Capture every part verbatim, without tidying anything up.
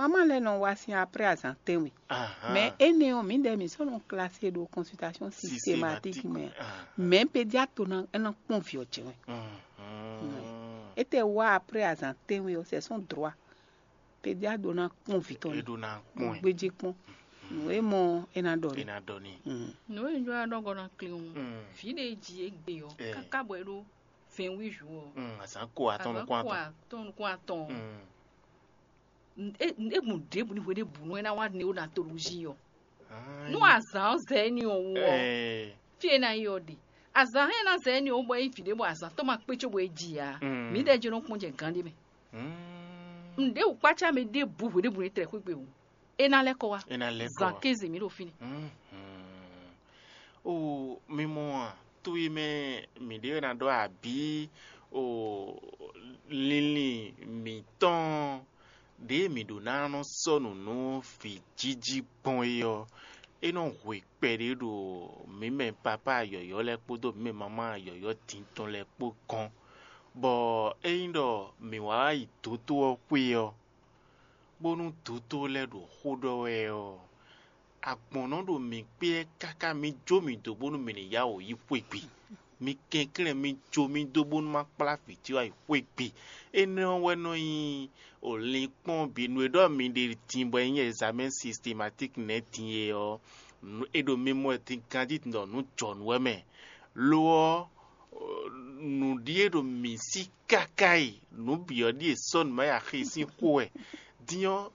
Maman lɛ́ɛ nɔ wá sín après azǎn tɛ́nwe. Ahan. Mais énɛ́ ɔ́, mǐdɛɛ mǐ sɔ́ nɔ klasi ɖo consultation systématique mɛ. Systématique. Ahan. Mais pédiatre ná é ná kpɔn vǐ ɔ́ jɛ wɛ. Mhm. Étɛ́ wá après azǎn tɛ́nwe ɔ́, c'est son droit. Pédiatre ɖó ná kpɔn vǐ tɔn. É ɖó ná kpɔn ɛ. Gbéjé kpɔn. Nǔ e mɔ é ná ɖɔ É ní. Ná ɖɔ ní. Mm. Nǔ e un jló ná ɖɔ gɔ́ ná klín ɔ́, Mm. vǐ ɖé e ji égbé ɔ́, Ɛ. káká bɔ é ɖó vingt-huit jours ɔ́, Mm, azǎn ko atɔn azǎn nukún ko atɔn. Atɔn nukún atɔn ɔ́, Mm. n- é é gbɔn ɖěbǔ ní hwe ɖěbǔ nú é ná wá néonatologie ɔ́. Ah, Nú azǎn ɔ́ zɛ éní ɔ́ wú ɔ́, Ɛɛ. fí e é ná yi ɔ́ ɖe. Azǎn hɛn ná zɛ éní ɔ́ wú bɔ é nyí vǐ ɖé bɔ azǎn tɔn ma kpé cóbɔ é ji ǎ. Mm. Mǐdɛɛ jɛ́n nɔ kpɔ́n jɛ gán ɖé mɛ. Mm. Nǔɖé wǔkpácá mɛ ɖěbǔ hwe ɖěbǔ ní tlɛ xwé gbe wú. É ná lɛ́ kɔ wá. É ná lɛ́ kɔ Zan wá. Kéze mǐ ɖo fínɛ́. Mhm. O, mi mɔ a, to e mɛ mǐ ɖe wɛ ná ɖɔ abǐ o, linlin mǐtɔn ɖě mǐ ɖó ná nɔ sɔ́ nǔ nú vǐ jiji gbɔn é ɔ́, é nɔ hwe kpɛɖé ɖo mǐ mɛ papá yɔ̌yɔ́ lɛ́ɛ kpódó mǐ mɛ mamá yɔ̌yɔ́ din tɔn lɛ́ɛ kpó gɔ́n, bɔ ényí ɖɔ mǐ wá yi dǒtó ɔ́ xwé ɔ́, bónú dǒtó lɛ́ɛ ɖo xó ɖɔ wɛ ɔ́, agbɔ̌n nɔ ɖo mǐ kpé káká mǐ jó mǐ dó bónú mǐ ní yá wǔ yi xwé gbe. Mi kɛnklɛ́n mi jó mì dó bónú má kplá vǐ ce wá yi xwé gbe. Énɛ́ ɔ́ wɛ nɔ nyí o linkpɔ́n bǐ nú e ɖɔ mi ɖe din bɔ é nyí examen systématique nɛ́ din é ɔ́, nǔ- è ɖo mi mɔ wɛ din ganjí ɖɔ nǔ jɔ nǔ wɛ mɛ. Lo ɔ́, nǔɖíe ɖo mǐ sí káká e nǔ bǐ ɔ́ ɖíe sɔ́ nǔ ma yi axi sín xó wɛ. Din ɔ́,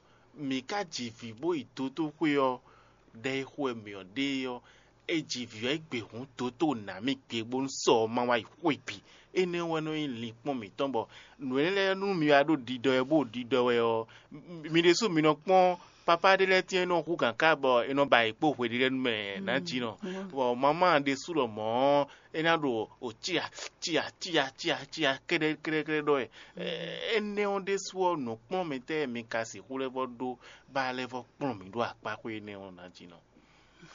mǐ ka ji vǐ bó yi dotóxwé ɔ́, ɖɛ e xo wɛ mǐ ɔ́ ɖe é ɔ́, é ji vǐ ɔ́ yi gbe hǔn dotó nǎ mì gbe bónú sɔ ɔ́ ma wá yi xwé bǐ. Énɛ́ wɛ nɔ nyí linkpɔ́n mǐtɔn bɔ nǔ énɛ́ lɛ́ɛ nú mi wá ɖo ɖiɖɔ wɛ bó ɖiɖɔ wɛ ɔ́, mi ɖésú mi nɔ kpɔ́n papá ɖé lɛ́ɛ tɛ́n e nɔ hú gǎn ká bɔ è nɔ ba yě kpó hweɖélɛ́nu mɛ nǎ jí nɔ. Bɔ mamá ɖésú lɔ mɔ̌ é ná ɖo o cia cia cia cia cia kɛ́ɖɛ́ kɛ́ɖɛ́ kɛ́ɖɛ́ ɖɔ wɛ. Énɛ́ ɔ́ ɖésú ɔ́, nǔkplɔ́nmɛtɔ́ e mi ka sixú lɛ́ vɔ ɖó ba lɛ́ vɔ kplɔ́n mǐ ɖo akpáxwé énɛ́ ɔ́ ná jí nɔ.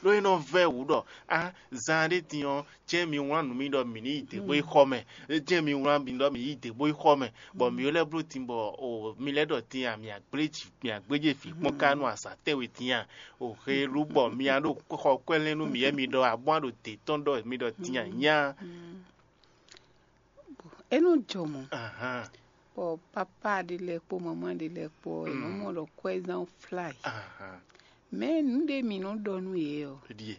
Ɖó é nɔ vɛ́ wǔ ɖɔ á zan ɖé din ɔ́, jɛ́n mi wlán nǔ mì ɖɔ mǐ ní yi dě bó yi xɔ mɛ, jɛ́n mi wlán mì ɖɔ mǐ yi dě bó yi xɔ mɛ, bɔ mǐ lɛ́ bló din bɔ o mi lɛ́ ɖɔ din a mǐ agblé jǐ mǐ agblé jɛ vǐ kpɔ́n ká nú azǎn tɛ́nwe din a? O helu bɔ mi a ɖo xɔ kwɛ́lɛ́n nú mǐ wɛ mi ɖɔ abɔ́ a ɖo dě tɔn ɖɔ mi ɖɔ din a nyá. É nɔ jɔ mɔ̌. Ahan. Bɔ papa ɖé lɛ́ɛ kpó mamá ɖé lɛ́ɛ kpó ɔ́, è nɔ mɔ ɖɔ kwɛ́zán flá yě. Ahan. Mɛ nǔ ɖé mǐ nɔ ɖɔ nú yě ɔ́, Ɖíe.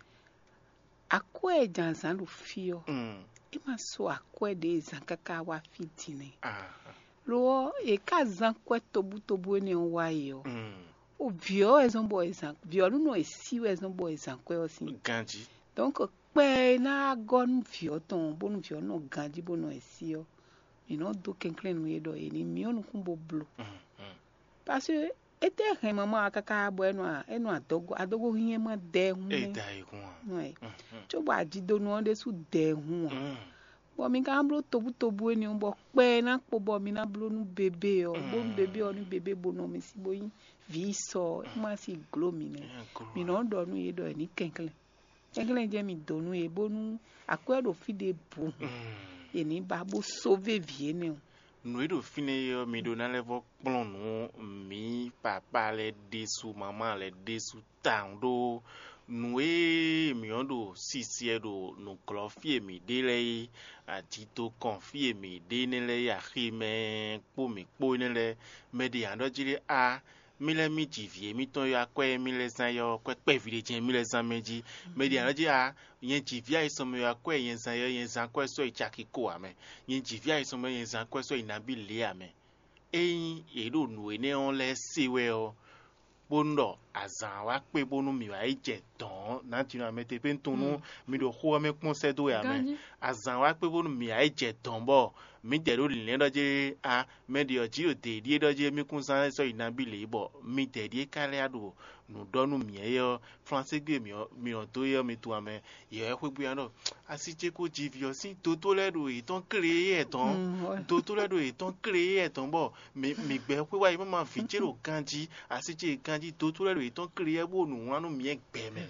Akwɛ́ e jǎnzǎn ɖo fí ɔ́, Mm. é ma so akwɛ́ ɖě e zǎn káká wá fí din nɛ́. Ahan. Lo ɔ́, è ká zán kwɛ́ tobútobú énɛ́ ɔ́ wá yi ɔ́, Mm. o vǐ ɔ́ wɛ zɔ́n bɔ è zǎn vǐ ɔ́ nú nɔ è sí wɛ zɔ́n bɔ è zǎn kwɛ́ ɔ́ sín. Ganjí. Donc kpɛ e ná gɔ́ nú vǐ ɔ́ tɔn bónú vǐ ɔ́ nɔ ganjí bó nɔ è sí ɔ́, mǐ nɔ dó kɛnklɛ́n nú yě ɖɔ yě ní myɔ nukún bó bló. Mm, mm. Parce que étɛ́ hɛn mamá ɔ́ káká bɔ é nɔ é nɔ adɔgo adɔgo hínyɛ́ ma dɛ ɛ hún É nɛ́. Da yi hun a. Ouais. Mm, mm. Cóbɔ ajidonu ɔ́ ɖésú dɛ ɛ hún ǎ. Mm. Bɔ mi ka bló tobútobú énɛ́ ɔ́, bɔ kpɛ ná kpo bɔ mi ná bló nú bebé ɔ́, bónú bebé ɔ́ ní bebé bo nɔ mi sí bó nyí vǐ sɔ ɔ́, é má sí gló mi nɛ́. Mǐ nɔ ɖɔ nú yě ɖɔ è ní kɛnklɛ́n. Kɛnklɛ́n jɛ́n mi dǒ nú yě, bónú akwɛ́ ɖo fí ɖěbǔ hǔn, è ní ba bó sóvé vǐ énɛ́ ɔ́. Nǔ e ɖo fínɛ́ é ɔ́, mi ɖó ná lɛ́ vɔ́ kplɔ́n nǔ mǐ papá lɛ́ɛ ɖésú, mamá lɛ́ɛ ɖésú tawun ɖó nǔ e mǐ ɔ́ ɖo sisiɛ ɖo nǔglɔ́ fí e mǐ ɖe lɛ́ɛ é, ajitokɔn fí e mǐ ɖe énɛ́ lɛ́ɛ é, aximɛ kpó mǐ kpó énɛ́ lɛ́ɛ, mɛ ɖě ǎ ɖɔ jí ɖé á, mí lɛ́ mí ji vǐ émítɔn e akwɛ́ e mí lɛ́ zán é ɔ́, kwɛ́ kpɛví ɖé jɛ́n mí lɛ́ zán mɛ jí. Mɛ ɖě ǎ ɖɔ jí á, nyɛ ji vǐ ayisɔnmɛ e akwɛ́ e nyɛ zán é ɔ́, nyɛ zán kwɛ́ sɔ́ yi caki ko ǎ mɛ. Nyɛ ji vǐ ayisɔnmɛ e nyɛ zán kwɛ́ sɔ́ yi nabí lě ǎ mɛ. Ényí yě ɖo nǔ énɛ́ ɔ́ lɛ́ɛ se wɛ ɔ́, bónú ɖɔ azǎn wá kpé bónú mǐ wá yi jɛ dɔ̌n ɔ́, nǎ jǐnɔ amɛ te pé un tunwun nú mi ɖo xó ɔ́ mɛ kpɔ́n sɛ́ dó wɛ ǎ mɛ. Ganjí. Azǎn wá kpé bónú mǐ wá yi jɛ dɔ̌n bɔ mǐdɛɛ ɖo lǐnlɛ́n ɖɔ jé á, mɛɖě ɔ́ jí ɖo dě ɖíe ɖɔ jé mí kún zán sɔ́ yi nabí lě bɔ midɛɛ ɖíe ka lɛ́ ɖo nǔ ɖɔ nú mǐ é ɔ́, flanségbe mǐ ɔ́ mi ɔ́ dó é ɔ́ mi tunwun amɛ. Yɛ wɛ xwé gbé ɔ́ ɖɔ asi ce ko ji vǐ ɔ́ sín dotó lɛ́ɛ ɖo yětɔn kléyɛ́ tɔn. Mm, ouais. Dotó lɛ́ɛ ɖo yětɔn kléyɛ́ tɔn bɔ mǐ mǐ gbɛ xwé wá yi má ma vǐ ce ɖo ganjí, asi ce ganjí dotó lɛ́ɛ ɖo yětɔn kléyɛ́ bó nǔ wlán nú mǐ gbɛ mɛ.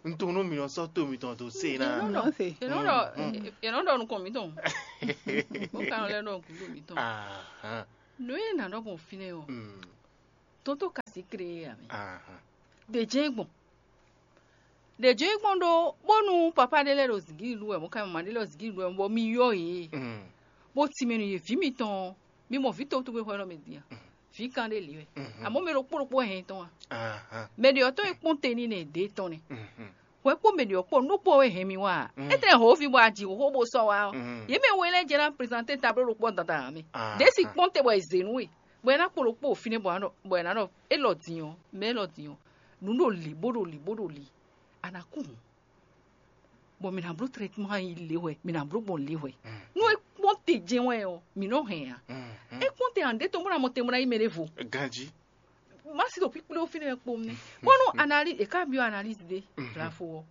Un tunwun nú mǐ nɔ sɔ́ to mitɔn dó se ná. Yě nɔ ɖɔ yě nɔ ɖɔ yě nɔ ɖɔ nukɔn mǐtɔn. Bó ka nɔ lɛ́ ɖɔ gǔdo mǐtɔn. Ahán. Nǔ e nǎ ɖɔ gbɔn fínɛ́ ɔ́, Mm. Tonto ka si kré ǎ mɛ. Ɖě jɛ́n gbɔn. Ɖě jɛ́n gbɔn ɖó bónú papá ɖé lɛ́ɛ ɖo zǐngídi ɖu wɛ, mɔ̌ ka mama ɖé lɛ́ɛ ɖo zǐngídi ɖu wɛ, bɔ mi yɔ yě. Bó ti mɛ nú yě ví mitɔn ɔ́, mi mɔ vǐ tɔn tɔgbe xɔ élɔ́ mɛ din a? Vǐ kan ɖé lǐ wɛ. Amɔ̌ mɛ ɖokpó ɖokpó hɛn tɔn a? Mɛ ɖě ɔ́ tɔn e kpɔ́n te n'i nɛ ɖě tɔn nɛ́. Hwɛ kpó mɛ ɖě ɔ́ kpó nú kpó wɛ hɛn mi wá a? Étɛ́ hǒvi bɔ a ji xóxó bó sɔ́ wá ɔ́, yě mɛ we lɛ́ɛ jɛ ná prezante ta bló ɖokpó dandan ǎ mɛ. Ɖě si kpɔ́n te bɔ è zě nú we, bɔ è ná kpo ɖokpó fínɛ́ bɔ è ná ɖɔ bɔ è ná ɖɔ élɔ́ din ɔ́, mɛ élɔ́ din ɔ́, nǔ ɖo lǐ bó ɖo lǐ bó ɖo lǐ, a nǎ kú hǔn. Bɔ mǐ ná bló trɛtman yi lě hwɛ, mǐ ná bló gbɔn lě hwɛ. Nú é kpɔ́n te jɛ́n wɛ ɔ́, mǐ nɔ hɛn ǎ. É kpɔ́n te ǎ, ɖě tɔn bó ná mɔ te bó ná yí mɛ ɖěvo. Ganjí. Má si ɖo kpíkplé fínɛ́ kpó nɛ́. Bónú analyse, è ká byɔ́ analyse ɖé, Vlafo ɔ́.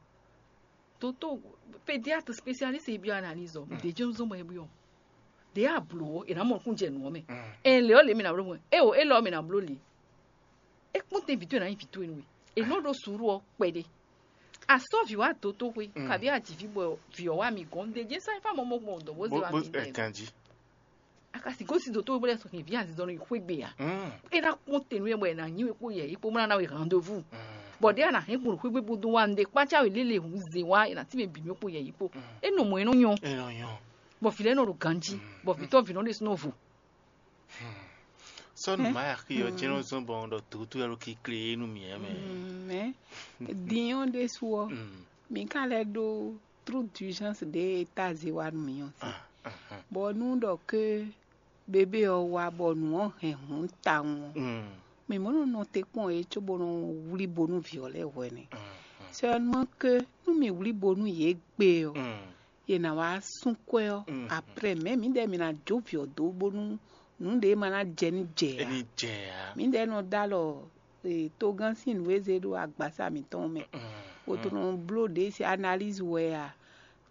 Toto, pédiatre spécialiste e byɔ́ analyse ɔ́, ɖě jɛ́n zɔ́n bɔ é byɔ́. Ɖě a blǒ ɔ́, è nǎ mɔ nukún jɛ nǔ ɔ́ mɛ. Ɛ lě ɔ́ lě mǐ ná bló mɔ. É o, é lɔ ɔ́ mǐ ná bló lě. É kpɔ́n te vǐ towe ná nyí vǐ towe nú we. È nɔ ɖó suúlu ɔ́ kpɛɖé. A sɔ́ vǐ wá dotóxwé, kabí a ji vǐ bɔ vǐ ɔ́ wá mi gɔ́n. Ɖě jɛ́n sɛ́n fá mɔ mɔ gbɔn dɔ̌ bó zé wá mi lɛ́ɛ. Ganjí. A ka si gosín dotóxwé bó lɛ́ sɔ́ hɛn vǐ azinzɔnnɔ yi xwé gbe ǎ. É ná kpɔ́n te nú we bɔ è nǎ nyi we kpó yɛ yi kpó bó ná ná we rendez-vous. Bɔ ɖěe a nǎ hɛn gbɔn xwé gbe bó dó wá un ɖe kpácá we lélẹ̀ hǔn zé wá è nǎ tínmɛ bǐ mì kpó yɛ yi kpó. É nɔ mɔ é nɔ nyɔ́. Bɔ vǐ lɛ́ɛ nɔ ɖo ganjí, bɔ vǐ tɔn vǐ nɔ ɖésúnɔ vo. Sɔ́ nǔ má axi ɔ́ jɛ́n nɔ zɔ́n bɔ un ɖɔ dotóxwé ɔ́ ɖo kikle é nú mǐ ɛ mɛ. Mɛ din ɔ́ ɖésú ɔ́, mǐ ka lɛ́ ɖó trou d'urgence ɖě e ta zé wá nú mǐ ɔ́ sí. Bɔ nú ɖɔ ké bébé ɔ́ wá bɔ nǔ ɔ́ hɛn hǔn tawun ɔ́, mǐ mɔ nɔ nɔ te kpɔ́n é cóbó nɔ wlí bo nú vǐ ɔ́ lɛ́ɛ hwɛ nɛ́. Seulement que nú mǐ wlí bo nú yě gbe ɔ́, yě ná wá sú kwɛ́ ɔ́, après mɛ̌ mǐdɛɛ mǐ ná jó vǐ ɔ́ dó bónú nǔ ɖě ma ná jɛ ní jɛ ǎ. Ní jɛ ǎ. Mǐdɛɛ nɔ dó alɔ togán sín nǔ e zé ɖó agbasa mǐtɔn mɛ, bó tó nɔ bló ɖě si analyse wɛ a,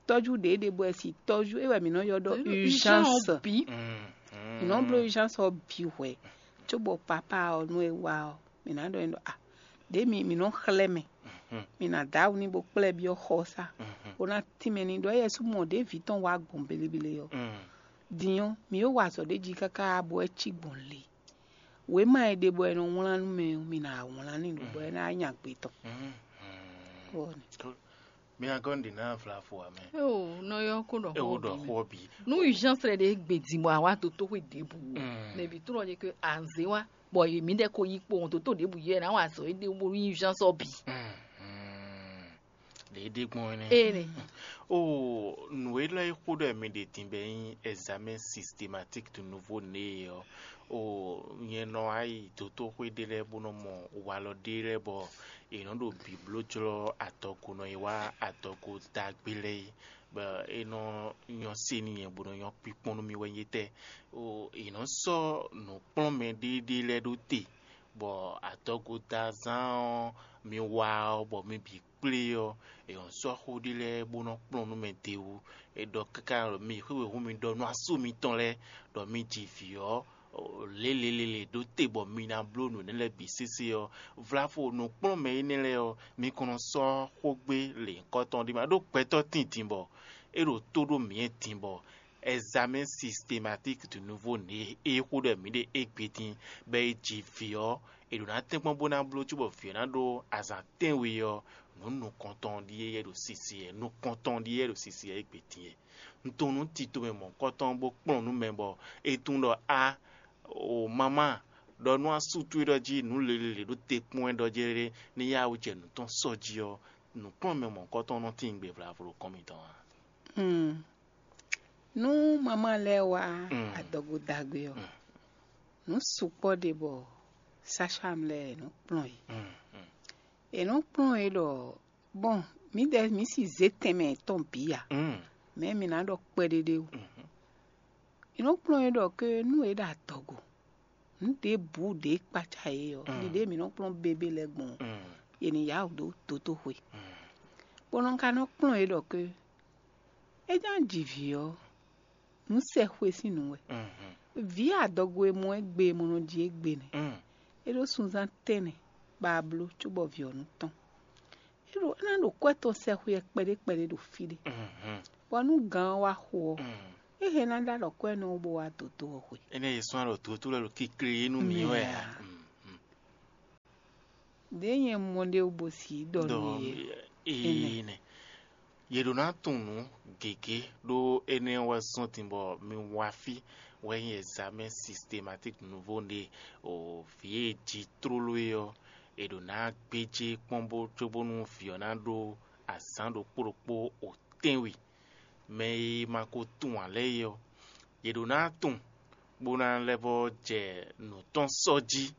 tɔ́jú ɖě ɖe bɔ è si tɔ́jú é wɛ mǐ nɔ ylɔ́ ɖɔ urgence. Mǐ nɔ bló urgence ɔ́ bǐ hwɛ̌, cóbɔ papa ɔ́ nú é wá ɔ́, mǐ ná ɖɔ n'i ɖɔ a ɖě mi mǐ nɔ xlɛ́ mɛ, mǐ ná dó awu n'i bó kplá ɛ byɔ́ xɔsá, bó ná tínmɛ n'i ɖɔ éyɛ́ sú mɔ ɖě vǐ tɔn wá gbɔn belebele ɔ́. Din ɔ́, mǐ e wa azɔ̌ ɖé jí káká bɔ é cí gbɔn le. Wěma e ɖe bɔ è nɔ wlán nú mɛ ɔ́, mi ná wlán n'i ɖo bɔ é ná nya gbe tɔn. Bɔ mi ná gɔ́ nǔɖé ná vlavo ǎ mɛ. Eo nɔ yɔ kó ɖɔ xó ɔ́ bǐ. Nú urgence lɛ ɖe gbe din bɔ a wá dotóxwé ɖěbǔ o, mɛ bǐ tlɔ́n ɖe ke anzé wá, bɔ yě mǐdɛɛ ko yí kpowun dótó ɖěbǔ yɛ ná wa azɔ̌ éɖée bónú nyí urgence ɔ́ bǐ. Ɖě ɖé gbɔn énɛ́. Ene. O nǔ élɔ́ e xó ɖɔ mi ɖe din bɔ é nyí examen systématique de nouveau né ɔ́, o nyɛ nɔ wá yi dotóxwé ɖé lɛ́ɛ bó nɔ mɔ walɔ ɖé lɛ́ɛ bɔ è nɔ ɖo bǐbló jlɔ́ adɔgo nɔ yi wá adɔgo dagbe lɛ́ɛ é, bɔ é nɔ nyɔ́ se n'i nyɛ bó nɔ nyɔ́ kpíkpɔ́n nú mì wɛ nyí tɛ́. O è nɔ sɔ́ nǔkplɔ́nmɛ ɖéɖé lɛ́ɛ ɖó te, bɔ adɔgo da zán ɔ́ mi wa ɔ́ bɔ mi bǐ kplé ɔ́, è nɔ sɔ́ xó ɖé lɛ́ɛ bó nɔ kplɔ́n nú mɛ d'é wú. È ɖɔ káká ɖɔ mi xwé wěhún mi ɖɔ nú asú mitɔn lɛ́ɛ ɖɔ mi ji vǐ ɔ́ lělělélě ɖó te bɔ mi ná bló nǔ énɛ́ lɛ́ɛ bǐ sésé ɔ́, vlavo nǔkplɔ́nmɛ énɛ́ lɛ́ɛ ɔ́, mi kɔn nɔ sɔ́ xógbé lěhunkɔtɔn ɖé ma ɖó gbɛtɔ́ tíndin bɔ é ɖo tó ɖó mǐ din bɔ examen systématique de nouveau né e xó ɖɔ mǐ ɖe égbé dín bɔ é ji vǐ ɔ́, è ɖǒ ná tɛ́nkpɔ́n bó ná bló cóbɔ vǐ ɔ́ ná ɖó azǎn tɛ́nwe ɔ́, nǔ nukɔntɔn ɖíe yɛ ɖo sisi wɛ, nukɔntɔn ɖíe yɛ ɖo sisi wɛ égbé din wɛ. Un tunwun nú tito mɛ mɔ̌hunkɔtɔn bó kplɔ́n nú mɛ bɔ é tunwun ɖɔ a o mamá ɖɔ nú asú towe ɖɔ jí nǔ lělélě ɖó te kpɔ́n wɛ ɖɔ jɛ́ɖɛ́ ní yá wú jɛ nǔ tɔn sɔ́ jí ɔ́, nǔkplɔ́nmɛ mɔ̌hunkɔtɔn nɔ tín gbe vlavo ɖo kɔn mitɔn ǎ. Nú mamá lɛ́ɛ wá adɔgo dagbe ɔ́, nǔ sukpɔ́ ɖe bɔ sasham lɛ́ɛ è nɔ kplɔ́n yě. È nɔ kplɔ́n yě ɖɔ bɔn mǐdɛɛ mǐ si zě tɛnmɛ tɔn bǐ ǎ, mɛ̌ mi ná ɖɔ kpɛɖéɖé wú. È nɔ kplɔ́n yě ɖɔ ké nú è ɖo adɔgo, nǔ ɖěbǔ ɖě kpácá yě ɔ́, ɖiɖée mǐ nɔ kplɔ́n bébé lɛ́ɛ gbɔn ɔ́, è nǐ yá wǔ dó dotóxwe. Bɔ nɔ ka nɔ kplɔ́n yě ɖɔ ké é ná ji vǐ ɔ́, nǔ sɛ xwe sín nǔ wɛ. Vǐ adɔgo e mɔ ɛ gbe e mɔ nɔ ji égbé nɛ́. É ɖó sunzán tɛ́nnɛ bɔ a bló cóbɔ vǐ ɔ́ nú tɔn. É ɖo é ná ɖo kwɛ́ tɔn sɛ xwe ɛ kpɛɖé kpɛɖé ɖo fí ɖé. Bɔ nú gǎn ɔ́ wá xo ɔ́, é hɛn ná ɖó alɔ kwɛ́ nɔ bó wá dǒdó ɔ́ xwe. Énɛ́ e sɔ́n alɔ dǒdó lɛ́ɛ ɖo kikle yé nú mǐ wɛ ǎ. Ɖě nyɛ mɔ ɖé wú bo si ɖɔ nú yě. Ee nɛ. Yě ɖó ná tunwun nǔ gěgé ɖó énɛ́ wɛ zɔ́n din bɔ mi wá fí wɛ nyí examen systématique nouveau ɖe o vǐ e jí tlóló é ɔ́, è ɖǒ ná gbéjé kpɔ́n bó cóbónú vǐ ɔ́ ná ɖó azǎn ɖokpó ɖokpó o tɛ́nwe. Mɛ e ma ko tunwun ǎ lɛ́ɛ é ɔ́, yě ɖó ná tunwun bó ná lɛ́ vɔ́ jɛ nǔ tɔn sɔ́ jí.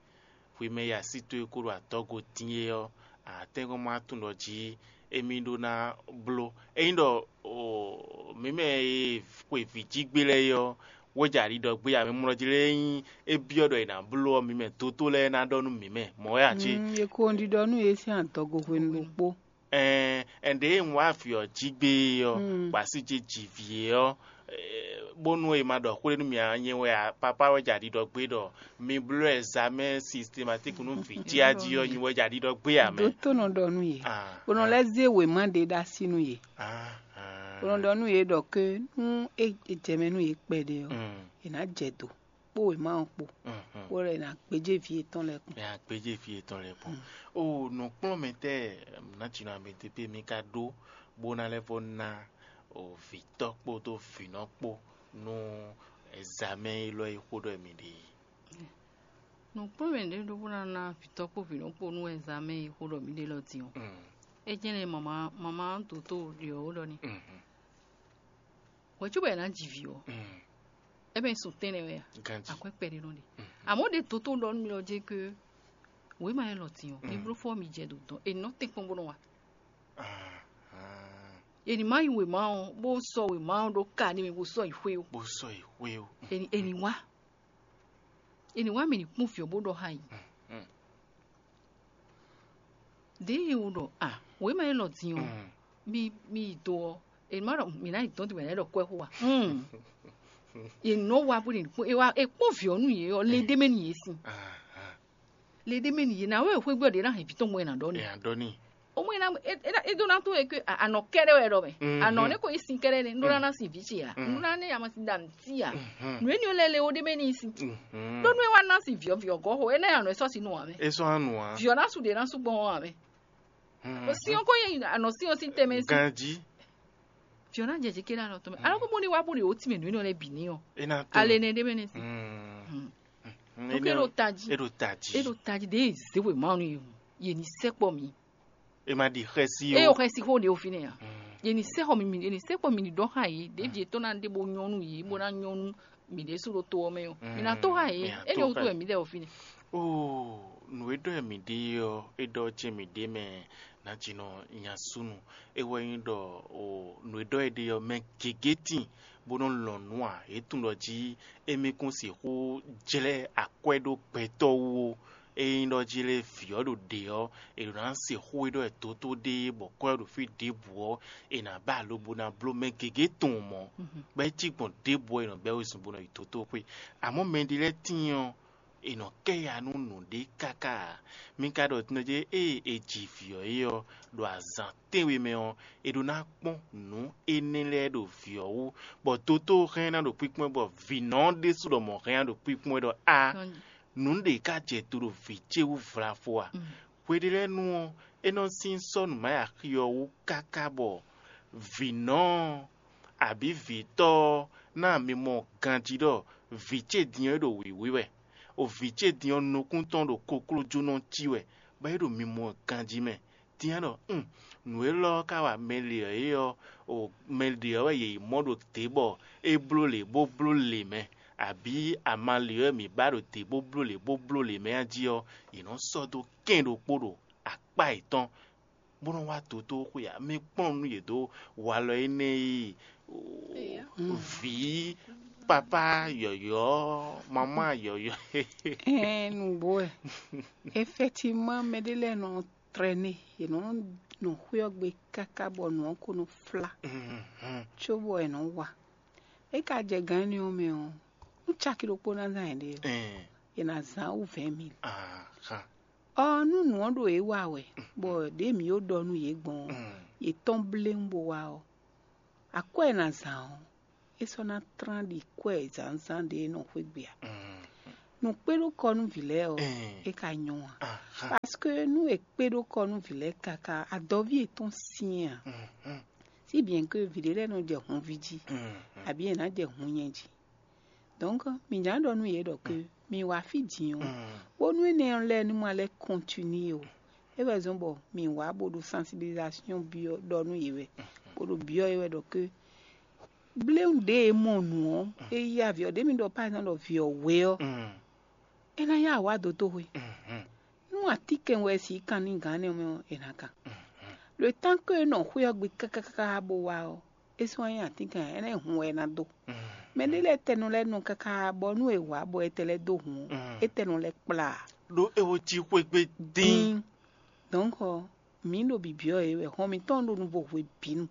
Hwi mɛ e así towe ko ɖo adɔgo din é ɔ́, a tɛ́nkpɔ́n ma tunwun ɖɔ jí émí ɖó ná bló. Ényí ɖɔ mǐ mɛ e xwe vǐ jí gbé lɛ́ɛ é ɔ́, wéja ɖiɖɔ gbé ǎ, mɛ mlɔ jí lɛ́ɛ nyí é byɔ́ ɖɔ è nǎ bló ɔ́, mǐ mɛ dótó lɛ́ɛ ná ɖɔ nú mǐ mɛ. Mɔ̌ wɛ a cé? Mm, È ko ɖiɖɔ nú yě sín adɔgo hwenu ɖokpó. Ɛn ɛn ɖěe un wá vǐ ɔ́ jí gbé é ɔ́, gbǎsíje ji vǐ é ɔ́, bónú è ma ɖɔ xwé nú mì ǎ, nyɛ wɛ a- papá wɛ ja ɖiɖɔ gbé ɖɔ mi bló ɛzamɛ́n sistematík nú vǐ jí a jí ɔ́, nyi wɛ ja ɖiɖɔ gbé ǎ mɛ. Dótó nɔ ɖɔ nú yě, Ah, bó nɔ ah, lɛ́ zé wěma ɖé ɖó así nú yě, ah, ah. Bó nɔ ɖɔ nú yě ɖɔ ké nú é é jɛ mɛ nú yě kpɛɖé ɔ́, Mm. È nǎ jɛ do kpó wěma ɔ́ kpó, Mhm. Bó lɛ́ ná gbéjé vǐ yětɔn lɛ́ɛ kpɔ́n. Nya gbéjé vǐ yětɔn lɛ́ɛ kpɔ́n. O nǔkplɔ́nmɛtɛ́ nǎjínɔ amɛtepé mi ka ɖó bó ná lɛ́ vɔ́ ná o vǐtɔ́ kpódó vǐnɔ kpó nú ɛzamɛ́n élɔ́ e xó ɖɔ mi ɖe é. Nǔkplɔ́nmɛ ɖě ɖó bó ná ná vǐtɔ́ kpó vǐnɔ kpó nú ɛzamɛ́n e xó ɖɔ mi ɖe lɔ din ɔ́. Mm. É jɛ́n nɛ́ mama mama dǒtó ɖě ɔ́ ɖɔ ni. Mhm. Hwɛ̌ cóbɔ è nǎ ji vǐ ɔ́, Mm. É mɛ sun tɛ́nnɛ wɛ a? Ganji. Akwɛ́ kpɛɖé nɔ ɖe. Mhm. Àmọ́ ɖe dǒtó ɖɔ nú mi lɔ jɛ ké wěma élɔ́ din ɔ́, mi Mm. bló fɔ mi jɛ ɖo dɔn è nɔ tɛ́n kpɔ́n bó nɔ wa. Ah, ah. È nǐ má yi wěma ɔ́ bó sɔ́ wěma ɔ́ ɖó ka n'i mɛ bó sɔ́ yi xwé ó. Bó sɔ́ yi xwé ó. È nǐ è nǐ wá. È nǐ wá mì ní kpɔ́n vǐ ɔ́ bó ɖɔ xá yě. Mm. Ɖěe è wo ɖɔ a wěma élɔ́ din ɔ́, Mm. Mi mi yi do ɔ́, è má ɖɔ mǐ ná yi dɔn din bɔ è nǎ ɖɔ kwɛ́ xó a? Hmm. È nɔ wa bó ɖe nukpɔ́n è wa è kpɔ́n vǐ ɔ́ nú yě ɔ́, le ɖé mɛ nú yě sin. Ah, ah. Le ɖé mɛ nú yě ná wɛ xwé gbé ɔ́ ɖě ná hɛn vǐ tɔn mɔ è nǎ ɖɔ n'i. Ɛ adɔ ní. Ó mɔ é ná é é é ɖó ná tó wɛ ké a- anɔ kɛ́ɖɛ́ wɛ ɖɔ mɛ. Mm, Anɔ mm. Nɛ ko yí sin kɛ́ɖɛ́ nɛ, nú ná ná sin vǐ ce a? Mm. Nú ná ní amasin da nǔ tí a? Mm. Nǔ énɛ́ lɛ́ɛ le ó ɖé mɛ n'i sin. Mm. Ɖó nú é wá ná sin vǐ ɔ́ vǐ ɔ́ gɔ́ xo, énɛ́ anɔ é sɔ́ sin nú ǎ mɛ. É sɔ́ ná nǔ ǎ. Vǐ ɔ́ ná su ɖě ná sú gbɔn ɔ́ ǎ mɛ. Mm. Ó sin ɔ́ kó nyí anɔ sin ɔ́ sín tɛnmɛ sí. Ganjí. Vǐ ɔ́ ná jɛ jě ké ɖo alɔ tɔn mɛ. Alɔ kó bó ní wá bó ɖe wǒ tínmɛ nǔ énɛ́ lɛ́ɛ bǐ ní ɔ́. É ná tó. Ale nɛ ɖé mɛ nɛ sí. Mm. Mm. Mm. Donc é ɖo tají. É ɖo tají. É ɖo tají ɖě zé wěma ɔ́ nú yě hǔn. Yě ní sɛkpɔ mǐ. É ma ɖi xɛsi Eye o. Xɛsi xó ɖe o fínɛ́ a? Mm. Yě ní sɛxɔ mi, yě ní sɛkpɔ mi ní ɖɔ xá yé, ɖěvi yětɔn ná ɖe bó nyɔ́ nú yě, bó ná nyɔ́ nú mǐ ɖésú ɖo to ɔ́ mɛ ɔ́. Mi ná tó xá yé, Mm, mi ná énɛ́ tó wútu xá wɛ mǐ ɖɛ o fínɛ́. Oo, nǔ e ɖɔ wɛ mǐ ɖe ɔ́, é ɖɔ ce mǐ ɖe mɛ nǎjínɔ nya súnnu. É wɛ nyí ɖɔ o nǔ e ɖɔ wɛ ɖe ɔ́, mɛ gěgé tíin bó nɔ́ lɔn nǔ ǎ. É tunwun ɖɔ jí émí kún sixú jlɛ́ akwɛ́ ɖó gbɛtɔ́ wú ó. Ényí ɖɔ jí lé vǐ ɔ́ ɖo ɖě ɔ́, è ɖǒ ná se xó e ɖɔ wɛ dǒtó ɖe bɔ kɔ́ ɛ ɖo fí ɖěbǔ ɔ́, è nǎ ba alo bó ná bló mɛ gěgé tɔn mɔ̌, bɔ é cí gbɔn ɖěbǔ ɔ́, è nɔ bɛ́ wezun bó nɔ yi dǒtó xwé. Amɔ̌ mɛɖé lɛ́ɛ tíin ɔ́, è nɔ kɛ ya nú nǔɖé káká ǎ. Mi ka ɖɔ din ɔ́ jí ée è ji vǐ ɔ́ é ɔ́, ɖo azǎn tɛ́nwe mɛ ɔ́, è ɖó ná kpɔ́n nǔ énɛ́ lɛ́ɛ ɖo vǐ ɔ́ wú, bɔ dotó hɛn ná ɖo kpíkpɔ́n bɔ vǐnɔ ɔ́ ɖésú ɖɔ mɔ̌ hɛn ná ɖo kpíkpɔ́n ɖɔ a nǔ ɖě ká jɛ do ɖo vǐ ce wú vlavo a? Hweɖélɛ́nu ɔ́, é nɔ sín sɔ́ nǔ ma yi axi ɔ́ wú káká bɔ vǐnɔ ɔ́, abǐ vǐtɔ́ ɔ́ ná mi mɔ ganjí ɖɔ vǐ ce din ɔ́ é ɖo wǐwí wɛ, o vǐ ce din ɔ́ nukún tɔn ɖo koklójónɔ cí wɛ, bɔ é ɖo mi mɔ ganjí mɛ. Din ɔ́ ɖɔ, un, nǔ élɔ́ ɔ́ ka wa mɛ lě ɔ́ é ɔ́, o mɛ lě ɔ́ wɛ yě yi mɔ ɖo dě bɔ é bló lě bó bló lě mɛ, abǐ ama lě ɔ́ wɛ mǐ ba ɖo dě bó bló lě bó bló lě mɛ a jí ɔ́, yě nɔ sɔ́ dó kɛn ɖokpó ɖo akpá yětɔn, bó nɔ́ wá dǒtó xwe ǎ. Mi kplɔ́n nú yě dó walɔ énɛ́ e vǐ papá yɔ̌yɔ́, mamá yɔ̌yɔ́. Ɛɛ, nǔgbó wɛ. Effectivement, mɛɖé lɛ́ɛ nɔ traîner, yě nɔ nɔ xwé ɔ́ gbe káká bɔ nǔ ɔ́ ko nɔ flá, cóbɔ è nɔ wa. É ka jɛ gǎn énɛ́ ɔ́ mɛ ɔ́, nú caki ɖokpó ná zán yěɖée ɔ́, yě ná zán wú vɛ̌ɛn mil. Ɔ, nú nǔ ɔ́ ɖo yě wa wɛ, bɔ ɖěe mǐ ko ɖɔ nú yě gbɔn ɔ́, yě tɔ́n bléwún bó wá ɔ́, akwɛ́ e è nǎ zán ɔ́, é sɔ́ ná tlán ɖi kwɛ́ zǎnzǎn ɖě e nɔ xwé gbe ǎ. Nǔ kpé ɖó kɔ nú vǐ lɛ́ɛ ɔ́, é ka nyɔ́ ǎ. Parce que nú è kpé ɖó kɔ nú vǐ lɛ́ɛ káká, adɔví yětɔn syɛ́n ǎ. Si bien que vǐ ɖé lɛ́ɛ nɔ jɛ hunví jí, abǐ è nǎ jɛ hun nyɛ jí. Donc mǐ ná ɖɔ nú yě ɖɔ que mi wá fí din ɔ́, bónú énɛ́ ɔ́ lɛ́ɛ ní ma lɛ́ continuer o. É wɛ zɔ́n bɔ mǐ wá bó ɖo sensibilisation byɔ́ ɖɔ nú yě wɛ, bó ɖo byɔ́ yě wɛ ɖɔ que bléwún ɖě e mɔ nǔ ɔ́, é yí avǐ ɔ́, ɖě mi ɖɔ par exemple ɖɔ vǐ ɔ́ hwe ɔ́, é ná yá wǎ dó tó hwe. Nú atínkɛn wɛ si kan ní gǎn nɛ́ mɛ ɔ́, è nǎ kan. Le temps que é nɔ xwé ɔ́ gbe káká bó wá ɔ́, é sɔ́ nyí atínkɛn ǎ, é ná nyí hun wɛ é ná dó. Mɛ ɖé lɛ́ɛ tɛnɔ lɛ́ɛ nɔ káká bɔ nú è wǎ bɔ è tɛ lɛ́ɛ dó hun ɔ́, é tɛnɔ lɛ́ɛ kplá ǎ. Ɖó é wo cí xwé gbe dín. Dín. Donc mǐ ɖo bibyɔ́ yě wɛ, hɔn mǐtɔn ɖo nuvo hwebǐnu.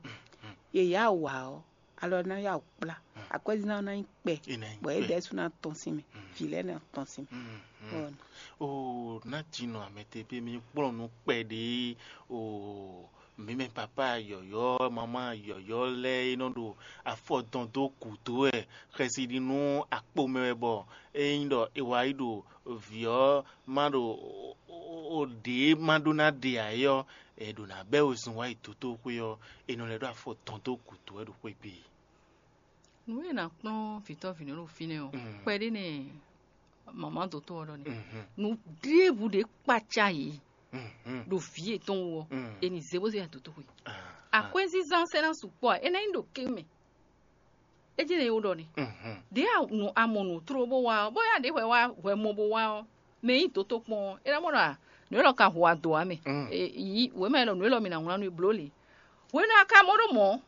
Yě yá wǎ ɔ́, alɔ ná yá wǔ kplá, akwɛ́zínzán ná nyí kpɛ, bɔ é ɖɛ̌ sú ná tɔ́n sín mɛ, vǐ lɛ́ɛ ná tɔ́n sín mɛ. Bɔ Oo, ná jinɔ amɛtepé mi kplɔ́n nú kpɛɖé. Oo, mǐ mɛ papá yɔ̌yɔ́, mamá yɔ̌yɔ́ lɛ́ɛ e nɔ ɖo afɔ dɔn dó gǔdo wɛ xɛsi ɖi nú akpo mɛ wɛ, bɔ ényí ɖɔ è wá yi ɖo vǐ ɔ́ ma ɖo ɖě ma ɖó ná ɖe ǎ é ɔ́, è ɖǒ ná bɛ́ wezun wá yi dotóxwé ɔ́, è nɔ lɛ́ ɖó afɔ dɔn dó gǔdo wɛ ɖo xwé gbe. Nǔ e è nǎ kplɔ́n vǐtɔ́ vǐnɔ ɖo fínɛ́ ɔ́, kpɛɖé nɛ mama dotó ɔ́ ɖɔ nɛ́. Nǔ ɖěbǔ ɖě kpaca yě ɖo vǐ yětɔn wú ɔ́, è nǐ zé bó zé ya dotóxwé. Akwɛ́zínzán sɛ́ ná sukpɔ́ ǎ, é ná nyí ɖo ké mɛ. É jɛ́n nɛ́ é wú ɖɔ nɛ́. Ɖě a mɔ nǔ tló bó wá ɔ́, bóyá ɖě hwɛ wá hwɛ mɔ bó wá ɔ́, mɛ e nyí dotó kpɔ́n ɔ́, é ná mɔ ɖɔ a nǔ élɔ́ ka hu ado ǎ mɛ. Yí wěma élɔ́ nǔ élɔ́ mi ná wlán nú i bló lě. Hwenu a ka mɔ ɖó mɔ̌,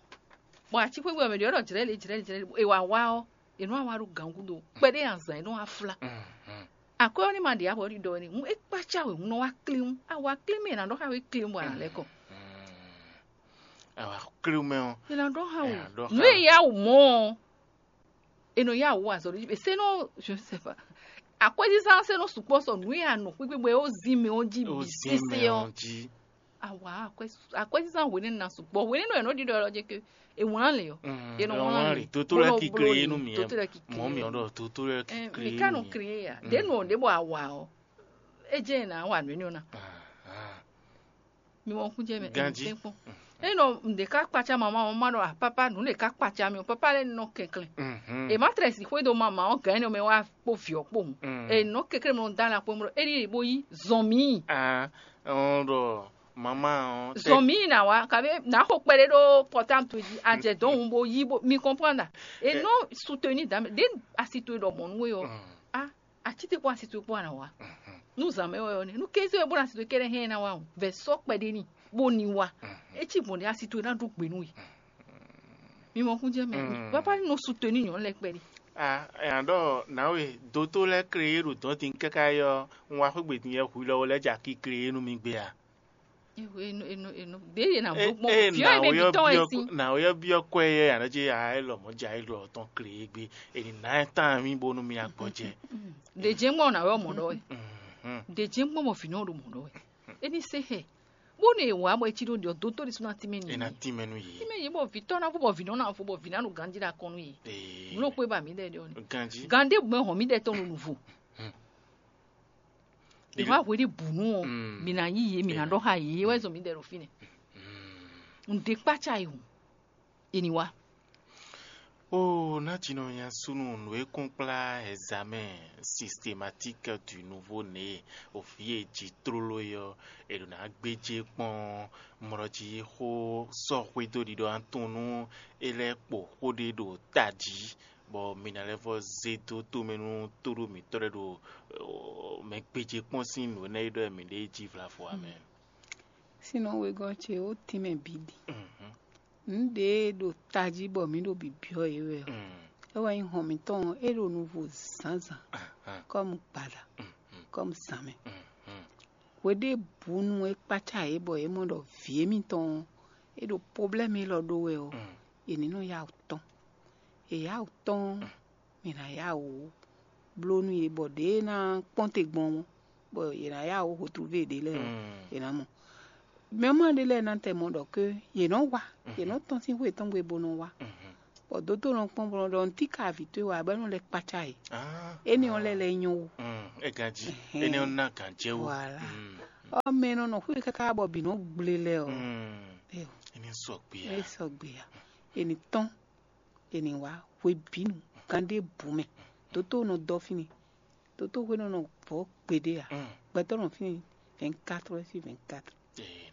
bɔ atíxwégbé ɔ́ mɛ ɖě ɔ́ ɖɔ jlɛ̌ lě jlɛ̌ lě jlɛ̌ lě, è wǎ wá ɔ́, è nɔ́ wá ɖo gǎngúdo kpɛɖé azǎn è nɔ́ wá flá. Akwɛ́ ɔ́ ní ma ɖe avɔ ɖiɖɔ wɛ ní hǔn é kpácá wě hun nɔ wá klín. A wá klín mɛ è nǎ ɖɔ xá wě klín bɔ a nǎ lɛ́ kɔ. Awa klín mɛ ɔ́, È nǎ ɖɔ xá wě. Nǔ e yá wǔ mɔ ɔ́, è nɔ yá wǔ azɔ̌ ɖé jí. Sɛ́nɔ, je ne sais pas. Akwɛ́zízá ɔ́ sɛ́nɔ sukpɔ́ sɔ nǔ e a nɔ xwígbe bɔ é ó zin mɛ ɔ́ jí bǐ sésé ɔ́. Jí. Awa akwɛ́ akwɛ́zízá hwenɛ́nu ná sukpɔ́. Hwenɛ́nu è nɔ ɖiɖɔ ɔ́ jɛ ke è wlán lě ɔ́. È nɔ wlán lě. Dotó lɛ́ɛ ki klé nú mì. Dotó lɛ́ɛ ki klé. Mɔ̌ mì ɔ́ ɖɔ dotó lɛ́ɛ ki klé. Mi ka nɔ klé ya. Ɖě nɔ ɖě bɔ awa ɔ́, é jẹ́ è nǎ wa nǔ énɛ́ ɔ́ ná. Mi mɔ kún jɛ mɛ Ganji. Tɛ́nkpɔ́n. Eye nɔ ɖe ká kpaca mama mama ɖɔ apapa nǔ ɖe ká kpaca mi o papa lɛ nɔ kɛnklɛn. E ma trɛ si xwé do mama ɔ́ gɛ̌n nɔ mɛ wá kpó vǐ ɔ́ kpó hun. E nɔ kɛnklɛn mɔ dá la kpó mɔ é ɖi bo yí zɔn mi. Ah, ɔn ɖɔ mama ɔn. Zɔn mi na wa kabe na xo kpɛɖe ɖo pɔtam to ji ajɛ dɔn hun bo yí bo mi kɔnpɔn na. E nɔ soutenir dame de asi to ɖɔ mɔnu we ɔ. Ah, atite kpó asito kpó ana wa. Nú zǎn mɛ wɛ ɔ́ nɛ́ nú kéze wɛ bó ná asito kɛ́ɖɛ́ hɛn ná wa o vɛ sɔ́ kpɛɖé ní bó ní wa. É cí gbɔn ɖé asito ná ɖó gbe nú we. Mi mɔ kún jẹ́ mɛ papa ní nɔ su to ní nyɔ̌nu lɛ kpɛɖé. Ah, nya ɖɔ nawe doto lɛ kle ye ɖo dɔn tin káká yɔ, un wa xwé gbe tin yɛ hu lɔ lɛ ja ki kle ye nú mi gbe a. Ɖě yě nǎ bló gbɔn viɔ́ yě mɛ bǐ tɔn wɛ sín. Nǎwe ɔ́ byɔ́ kwɛ yɛ ǎ ɖɔ jí a é lɔ mɔ̌ ja é lɔ tɔn kle e gbe, è nǐ ná ɛ tán mì bónú mì agbɔjɛ. Ɖě jɛ́n gbɔn nǎwe ɔ́ mɔ ɖɔ wɛ. Ɖě jɛ́n gbɔn bɔ vǐ nɔ ɖo mɔ ɖɔ wɛ. É ní se xɛ. Bónú è wǎ bɔ é cí ɖó ɖiɔ dótó ɖésú ná tínmɛ nú È ná yě. Tínmɛ nú yě. Tínmɛ yě bɔ vǐ tɔ́ ná fó bɔ vǐ nɔ ná fó bɔ vǐ ná ɖo ganjí ɖo akɔn nú yě. Ee. Nǔ ɖokpó e ba mǐ ɖɛ ɖe ɔ́ nɛ. Ganjí. Gan ɖé gbɛn hɔn mǐ ɖɛ tɔn ɖo nǔvo. Ìwà hweɖí bǔnú ɔ, mǐ ná yí yě, mǐ ná ɖɔ xá yě, é wɛ zɔn mǐ ɖɛ ɖo fínɛ́. Nǔɖé kpácá yi hǔn, è ní wá. Ó, ná jinɔ nya súnnu nǔ e kún kplá examen systématique du nouveau né, òfí e jí tlóló é ɔ́, è ɖǒ ná gbéjé kpɔ́n mlɔ́ jí xó sɔ́ xwedó ɖiɖɔ atún nú é lɛ́ kpo xó ɖé ɖo tají, bɔ mi ná lɛ́ vɔ́ zé dó tomɛ nú tóɖó mǐtɔn lɛ́ɛ ɖo mɛ gbéjé kpɔ́n sín nǔ énɛ́ e ɖɔ mǐ ɖe jí vlavo ǎ mɛ. Sinon wegɔ́ ce ó tínmɛ bǐ ɖi. Nǔ ɖě e ɖo tají bɔ mǐ ɖo bǐbyɔ́ yě wɛ ɔ́, é wɛ nyí hɔn mǐtɔn ɔ́, é ɖo nuvo zǎnzǎn, kɔ́mu gbada, kɔ́mu zǎnmɛ. Hweɖěbǔnu e kpácá yě bɔ yě mɔ ɖɔ vǐ émítɔn ɔ́, é ɖo poblɛ́mu élɔ́ ɖó wɛ ɔ́, è ní nɔ yá wǔ tɔ́n. È yá wǔ tɔ́n ɔ́, mǐ ná yá wǔ bló nú yě bɔ ɖě ná kpɔ́n te gbɔn ɔ́, bɔ yě ná yá wǔ hotluví yěɖée lɛ́ɛ ɔ́, yě ná mɔ. Mɛ ma ɖé lɛ́ɛ ná tɛ mɔ ɖɔ ké yě nɔ wá, yě nɔ tɔ́n sín xwé tɔn gbe bó nɔ wá. Bɔ dótó nɔ kpɔ́n bɔ nɔ ɖɔ nǔtíka avǐ towe wɛ abɔ é nɔ lɛ́ kpácá yě. Ah, énɛ́ ɔ́ lɛ́ lɛ́ nyɔ́ wú. Mm, é ganjí. Énɛ́ ɔ́ ná gǎn jɛ wú. Voilà. Mm. Ɔ́ mɛ nɔ nɔ xwé káká bɔ bǐ nɔ gblé lɛ́ɛ ɔ́. Mm. Éyɔ, Énɛ́ sɔgbe é ǎ. Sɔgbe ǎ. È nǐ tɔ́n, è nǐ wá hwebǐnu, gan ɖé bǔ mɛ. Dótó nɔ dɔ fínɛ́. Dótó hwenu nɔ vɔ̌ gbeɖé ǎ. Mm. Gbɛtɔ́ nɔ fínɛ́ vingt-quatre heures sur vingt-quatre. Ee,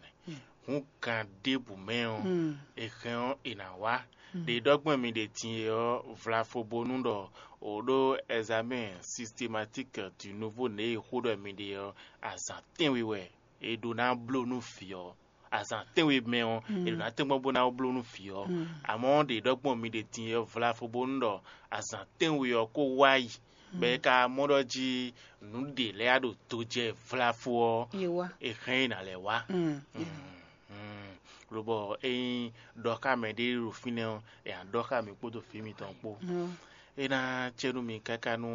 hun gan ɖěbǔ mɛ ɔ́, Mm. è hɛn ɔ́ è nǎ wá. Ɖě ɖɔgbɔn mi ɖe din e ɔ́, vlafo bónú ɖɔ o ɖó examen systématique du nouveau né e xó ɖɔ mi ɖe ɔ́, azǎn tɛ́nwe wɛ è ɖó ná bló nú vǐ ɔ́. Azǎn tɛ́nwe mɛ ɔ́, è ɖó ná tɛ́nkpɔ́n bó ná bló nú vǐ ɔ́. Amɔ̌ ɖě ɖɔgbɔn mi ɖe din e ɔ́, vlafo bónú ɖɔ azǎn tɛ́nwe ɔ́ kó wá yi, bɔ è ka mɔ ɖɔ jí nǔ ɖě lɛ́ɛ ɖo do jɛ vlafo ɔ́, Ye wá. È hɛn ɛ ná lɛ́ wá. Mm. Mm. Lobɔ ényí ɖɔ xá mɛ ɖé ɖo fínɛ́ ɔ́, è nǎ ɖɔ xá mǐ kpódó vǐ mitɔn kpó. Mm. É ná cɛ nú mi káká nú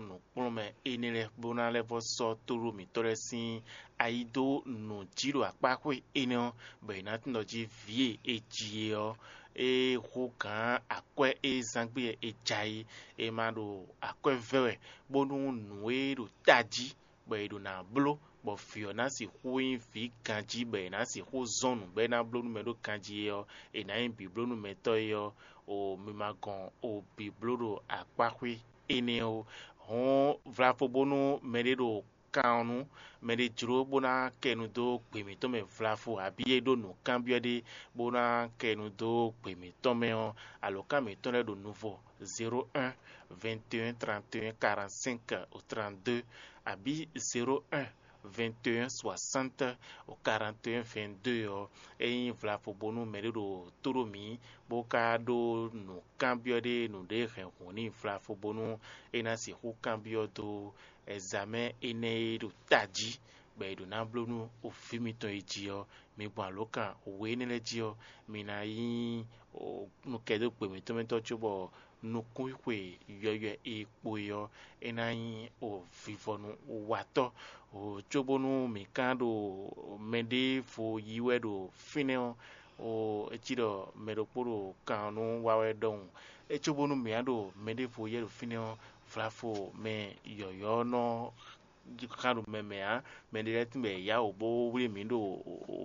nǔkplɔ́nmɛ énɛ́ lɛ́ɛ bó ná lɛ́ vɔ́ sɔ́ tóɖó mǐtɔn lɛ́ɛ sín ayi dó nǔ jí ɖo akpáxwé énɛ́ ɔ́, bɔ è nǎ tunwun ɖɔ jí vǐ e è ji é ɔ́, é hú gǎn akwɛ́ e zán gbé wɛ è ja é, è ma ɖo akwɛ́ vɛ́ wɛ, bónú nǔ e ɖo tají bɔ è ɖo ná bló, bɔ vǐ ɔ́ ná sixú nyí vǐ ganjí, bɔ è nǎ sixú zɔ́n nǔ bɔ é ná bló nú mɛ ɖó ganjí é ɔ́, è nǎ nyí bǐblónúmɛtɔ́ é ɔ́, o mi ma gɔn o bǐbló ɖo akpáxwé énɛ́ ó. Hɔn vlafo bónú mɛɖé ɖo kan ɔ́ nú mɛɖé jló bó ná kɛ nu dó gbě mǐtɔn mɛ vlafo, abǐ é ɖó nǔkanbyɔ́ ɖé bó ná kɛ nu dó gbě mǐtɔn mɛ ɔ́, alǒkan mǐtɔn lɛ́ɛ ɖo nuvɔ zéro un, vingt et un, trente et un, quarante-cinq au trente-deux, abǐ zéro un, vingt et un, soixante au quarante et un, vingt-deux ɔ́, ényí vlafo bónú mɛɖé ɖo tó ɖó mǐ, bó ka ɖó nǔkanbyɔ́ ɖé, nǔɖé hɛn hǔn n'i vlafo bónú é ná sixú kanbyɔ́ dó ɛzamɛ́ énɛ́ e ɖo tají, bɔ è ɖǒ ná bló nú vǐ mitɔn e jí ɔ́, mi gbɔn alǒkan we énɛ́ lɛ́ɛ jí ɔ́, mi ná nyí nukɛ́dógbe mǐtɔn mɛ tɔn cóbɔ nukúnxwe yɔywɛ e kpo é ɔ́, é ná nyí vivɔnu watɔ́. Cóbónú mǐ ka ɖo mɛɖěvo yí wɛ ɖo fínɛ́ ɔ́, é cí ɖɔ mɛ ɖokpó ɖo kan ɔ́ nú wa wɛ ɖɔhun. É cóbónú mǐ á ɖo mɛɖěvo yɛ ɖo fínɛ́ ɔ́, vlafo mɛ yɔ̌yɔ́ nɔ xa ɖo mɛ mɛ ǎ. Mɛɖé lɛ́ɛ tínbɔ è yá wǔ bó wlí mǐ ɖo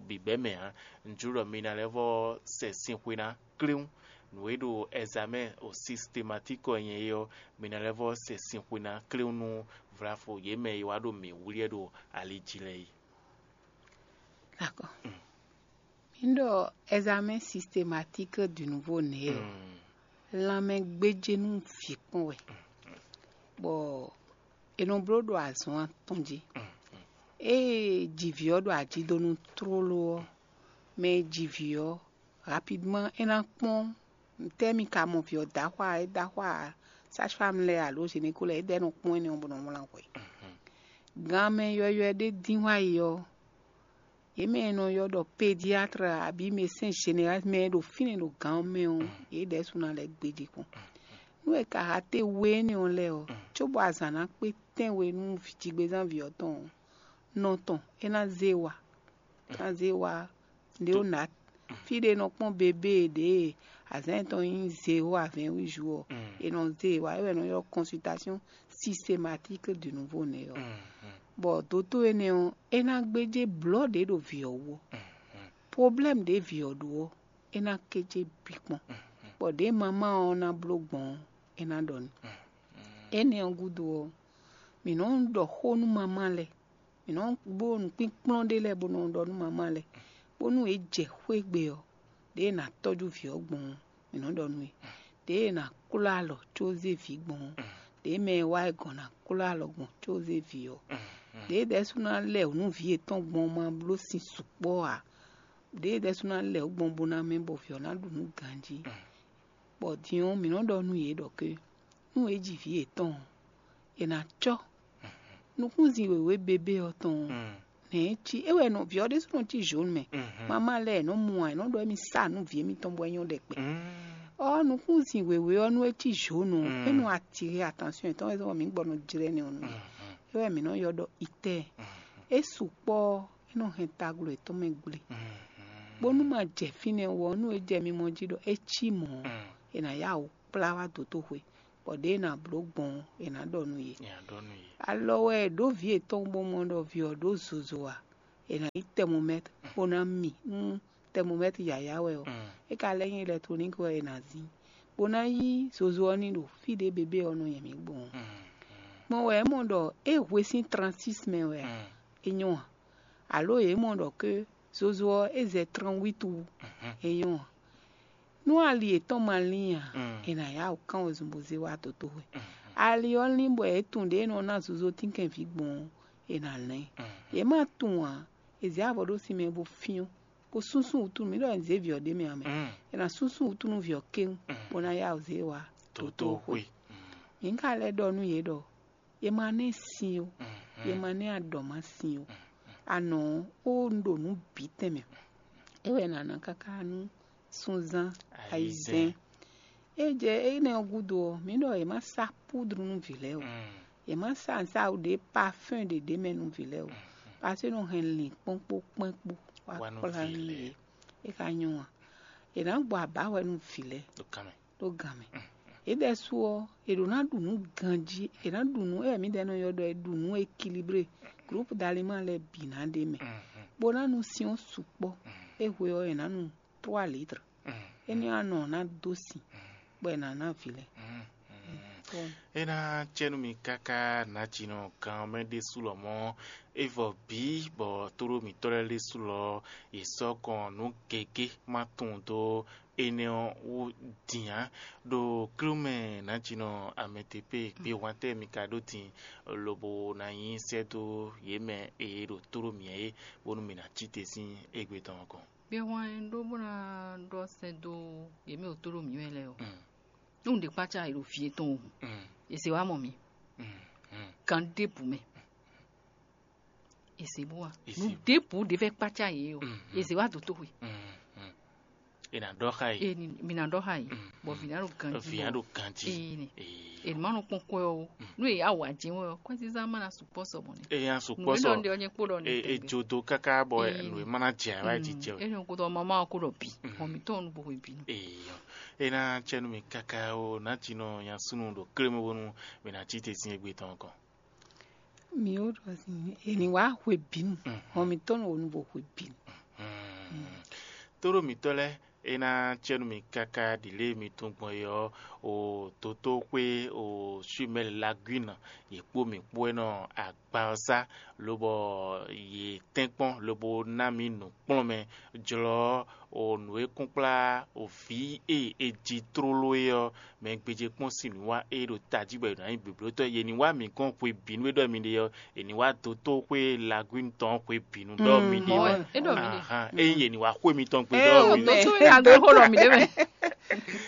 bǐbɛ́ mɛ ǎ. Un jló ɖɔ mi ná lɛ́ vɔ́ sɛ sin xwe ná kléwún. Nǔ e ɖo ɛzamɛ́ o sistemátikɔ nyɛ é ɔ́, mi ná lɛ́ vɔ́ sɛ sin xwe ná kléwún nú vlafo yě mɛ e wá ɖo mǐ wlí wɛ ɖo ali jí lɛ́ɛ é. D'accord. Mi ɖɔ examen systématique du nouveau né ɔ́, lanmɛ gbéjé nú vǐ kpɔn wɛ, bɔ è nɔ bló ɖo azɔn atɔn jí. Ée jivǐ ɔ́ ɖo ajidonu tlóló ɔ́, mɛ e ji vǐ ɔ́, rapidement é ná kpɔ́n tɛ́ mi ka mɔ vǐ ɔ́ dó axwá, é dó axwá sage-femme lɛ́ɛ alo gynéco lɛ́ɛ, é ɖɛ́ nɔ kpɔ́n énɛ́ ɔ́ bó nɔ wlán hwɛ. Ganmɛ yɔywɛ ɖé dín wá yi ɔ́, yě mɛ e nɔ ylɔ́ ɖɔ pédiatre abǐ médecin général mɛ e ɖo fínɛ́ ɖo gǎn ɔ́ mɛ ɔ́, yě ɖɛ̌ sú ná lɛ́ gbéjé kpɔ́n. Nú è ka ha te we énɛ́ ɔ́ lɛ́ɛ ɔ́, cóbɔ azǎn ná kpé tɛ́nwe nú jigbezán vǐ ɔ́ tɔn ɔ́, nɔ tɔn é ná zé wa, é ná zé wa léonard. Fí ɖé nɔ kpɔ́n bébé ɖě azǎn yětɔn nyí zéro à vingt-huit jours ɔ́, è nɔ zé wa, é wɛ è nɔ ylɔ́ consultation systématique du nouveau né ɔ́. Bɔ dótó énɛ́ ɔ́, é ná gbéjé blɔ̌ ɖě ɖo vǐ ɔ́ wú ɔ́. Problème ɖě vǐ ɔ́ ɖó ɔ́, é ná kéjé bǐ kpɔ́n. Bɔ ɖě mamá ɔ́ ná bló gbɔn ɔ́, é ná ɖɔ n'i. Énɛ́ ɔ́ gúdo ɔ́, mǐ nɔ́ ɖɔ xó nú mamá lɛ́ɛ, mǐ nɔ́ bló nǔkpínkplɔ́n ɖé lɛ́ɛ bó nɔ ɖɔ nú mamá lɛ́ɛ, bónú yě jɛ xwé gbe ɔ́, ɖěe è nǎ tɔ́jú vǐ ɔ́ gbɔn ɔ́, mǐ nɔ́ ɖɔ nú yě. Ɖěe è nǎ klɔ́ alɔ có zé vǐ gbɔn ɔ́, ɖěe mɛ e wá yi gɔ̌n ná klɔ́ alɔ gbɔn có zé vǐ ɔ́, ɖěe ɖɛ̌ sú ná lɛ wǔ nú vǐ yětɔn gbɔn ɔ́ ma bló sin sukpɔ́ ǎ. Ɖěe ɖɛ̌ sú ná lɛ wǔ gbɔn bó ná mɛ bɔ vǐ ɔ́ ná ɖu nǔ ganjí. Bɔ din ɔ́, mǐ nɔ́ ɖɔ nú yě ɖɔ ké nú yě ji vǐ yětɔn ɔ́, è nǎ cɔ́ nukúnzin wěwé bébé ɔ́ tɔn ɔ́, nɛ̌ é cí? É wɛ nɔ vǐ ɔ́ ɖésú nɔ cí zhǒnu mɛ. Mamá lɛ́ɛ è nɔ́ mu ǎ, è nɔ́ ɖɔ émí sa nú vǐ émítɔn bɔ é nyɔ́ ɖɛkpɛ. Ɔ́, nukúnzin wěwé ɔ́, nú é cí zhǒnu ɔ́, é nɔ atire attention yětɔn wɛ sɔ́ mǐ gbɔ nɔ jlɛ́ nɛ́ ɔ́ nú yě. É wɛ mǐ nɔ́ ylɔ́ ɖɔ itɛ́ɛ. É sukpɔ́ ɔ́, é nɔ hɛn taglo yětɔn mɛ gble. Bónú ma jɛ fínɛ́ wú ɔ́, nú é jɛ mimɔ jí ɖɔ é cí mɔ̌ ɔ́, è nǎ yá wǔ kplá wá dotóxwe, bɔ ɖěe è nǎ bló gbɔn ɔ́, è nǎ ɖɔ nú yě. Nya ɖɔ nú yě. Alɔ wɛ è ɖǒ vǐ yětɔn bó mɔ ɖɔ vǐ ɔ́ ɖó zozo a, è nǎ yí tɛmomɛ́t bó ná mi nú tɛmomɛ́t yǎyá wɛ ɔ́, é ka lɛ́ nyí ilɛktroník wɛ è nǎ zín, bó ná yí zozo ɔ́ ní ɖo fí ɖě bebé ɔ́ nɔ nyɛ mǐ gbɔn ɔ́. Gbɔn wɛ é mɔ ɖɔ é hwe sín transis mɛ wɛ a, é nyɔ́ a? Alo yě mɔ ɖɔ ké zozo ɔ́ é zɛ tranwít wú, é nyɔ́ a? Nú ali yětɔn ma lín a, è nǎ yá wǔ kán wezun bó zé wá dotóxwe. Ali ɔ́ lín bɔ é tunwun ɖě e nɔ ná zozo tínkɛnví gbɔn ɔ́, è nǎ lɛ́n ɛ. Yě ma tunwun ǎ, è zě avɔ ɖó sin mɛ bó fyɔ́n, bó súnsún wǔtu nú mǐ ɖɔ è nǐ zé vǐ ɔ́ ɖ'é mɛ ǎ mɛ. È nǎ súnsún wǔtu nú vǐ ɔ́ kéwún, bó ná yá wǔ zé wá dotóxwe. Mǐ ka lɛ́ ɖɔ nú yě ɖɔ yě ma ná ɛ sin ó, yě ma ná ɛ aɖɔ̌masin ó. Anɔ ɔ́, ó un ɖo nǔ bǐ tɛnmɛ. É wɛ è nǎ ná káká nú súnzán ayizɛ́n. É jɛ énɛ́ ɔ́ gúdo ɔ́, mǐ ɖɔ yě má sá púdru nú vǐ lɛ́ɛ ó. Yě má sá nǔsáwǔ ɖé parfɛ́n ɖě ɖ'é mɛ nú vǐ lɛ́ɛ ó. Paseke é nɔ hɛn lǐnkpɔ́n kpó kpɛ́n kpó wá kplá nú yě. É ka nyɔ́ a? È nǎ gbɔ abǎhwɛ nú vǐ lɛ́ɛ ɖo gan mɛ. Yě ɖɛ́sú ɔ́, è ɖǒ ná ɖu nǔ ganjí, è nǎ ɖu nǔ, é wɛ mǐdɛɛ nɔ ylɔ́ ɖɔ è ɖu nǔ ékilibré, groupe d'aliment lɛ́ɛ bǐ ná ɖ'é mɛ, bó ná nu sin ɔ́ sukpɔ́. É hwe ɔ́, è nǎ nu trois litres. Énɛ́ ɔ́, anɔ ɔ́ ná dó sin, bɔ è nǎ ná vǐ lɛ́ɛ. É ná cɛ nú mi káká nǎjinɔ gan ɔ́ mɛ ɖésú lɔmɔ̌, é vɔ bǐ bɔ tóɖó mǐtɔn lɛ́ɛ ɖésú lɔ yě sɔ́ kɔn nǔ gěgé ma tunwun dó énɛ́ ɔ́ wú din ǎ. Ɖo klúmɛ nǎjinɔ amɛtepé gbé hwantɛ́ mi ka ɖó din, lobo ná nyí sɛ́ dó yě mɛ e ɖo tóɖó mǐ é, bónú mǐ ná cí te sín égbé tɔn ɔ́ kɔn. Gbé hwan e ɖó bó ná ɖɔ sɛ́ dó yě mɛ ɖo tóɖó mǐ mɛ lɛ́ɛ ɔ́, nú un ɖe kpácá yě ɖo fí yětɔn o, è se wá mɔ mǐ gan ɖěbǔ mɛ. È se bó wá nú ɖěbǔ ɖě fɛ́ kpácá yě o, è se wá dǒ tóxwe. È nǎ ɖɔ xá yě. Mǐ ná ɖɔ xá yě, bɔ vǐ ná ɖo ganjí. Vǐ ná ɖo ganjí. Ee, è má nɔ kpɔn kwɛ ɔ́, nú è yá wǎ jɛ́n wɛ ɔ́, kwɛ́zízá má ná sukpɔ́ sɔ mɔ̌ nɛ́. È nya sukpɔ́ sɔ. Nǔ e ɖɔ ɔ́ nyɛ kpó ɖɔ nɛ́. È jodo káká bɔ nǔ e má ná jɛ wá jí jɛ. É nɔ kó dɔ mama ɔ́ kó ɖɔ bǐ, hɔn mǐtɔn ɔ́ nú bo hwe bǐ nú. Eyɔ, é ná cɛ nú mi káká ó, nǎ cí nɔ nya súnnu ɖo klé mɛ bónú mi ná cí te sín égbé tɔn kɔn. Mi ó ɖɔ sin, è ní wá hwe bǐnu, hɔn mǐtɔn nɔ wǒ nu bó hwe bǐnu. Tóɖó mǐtɔn lɛ́ɛ, é ná cɛ nú mi káká ɖi lě e mi tunwun gbɔn é ɔ́, o dotóxwé o Suimɛ́li Lagwín, yě kpó mǐ kpó wɛ nɔ agba ɔ́ sá, lobɔ yě tɛ́nkpɔ́n lobo ná mǐ nǔkplɔ́nmɛ jlɔ́ o nǔ e kún kplá o vǐ e è ji tlóló é ɔ́ mɛ gbéjé kpɔ́n sín nǔ wa é ɖo tají bɔ è nǎ nyí blǒblótɔ́. Yě ní wá mǐ gɔ́n hwebǐnu e ɖɔ mi ɖe ɔ́, è ní wá dotóxwé Lagwín tɔn hwebǐnu ɖɔ mi ɖe wɛ. É ɖɔ mi ɖe. Ahan, ényí yě ní wá xwé mitɔn gbe ɖɔ mi ɖe. Dotóxwé Lagwín xó ɖɔ mi ɖe mɛ.